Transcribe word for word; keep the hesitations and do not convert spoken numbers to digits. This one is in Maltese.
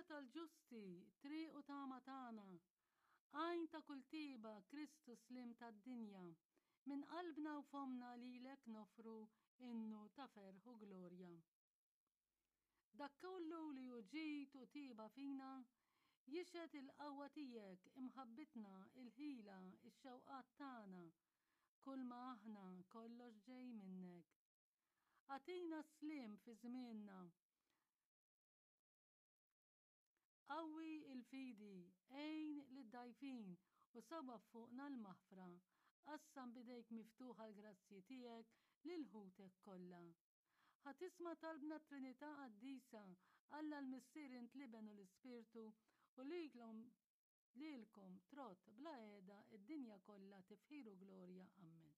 tal-ġusti, triq u tama tagħna, għajn ta' kull tiba, Kristu sliem tad-dinja, minn qalbna u fommna lilek noffru innu ta' ferħ u glorja. Dak kollu li hu ġid u tiba fina, jixhed il-qawwa tiegħek, imħabbitna, il-ħila, ix-xewqat tagħna, kull ma aħna kollox ġej minnek. Agħtina s-sliem fi żmienna. Qawwi l-fidi, għin lid-dgħajfin u sawwab fuqna l-maħfra. Qassam b'idejk miftuħa l-grazzji tiegħek lil ħutek kollha. Ħa tisma' talbna t-Trinità Qaddisa, Alla l-Missier int l-Iben u l-Ispirtu, u lilkom lilkom trott bla qiegħda d-dinja kollha tifħir u glorja. Ammen.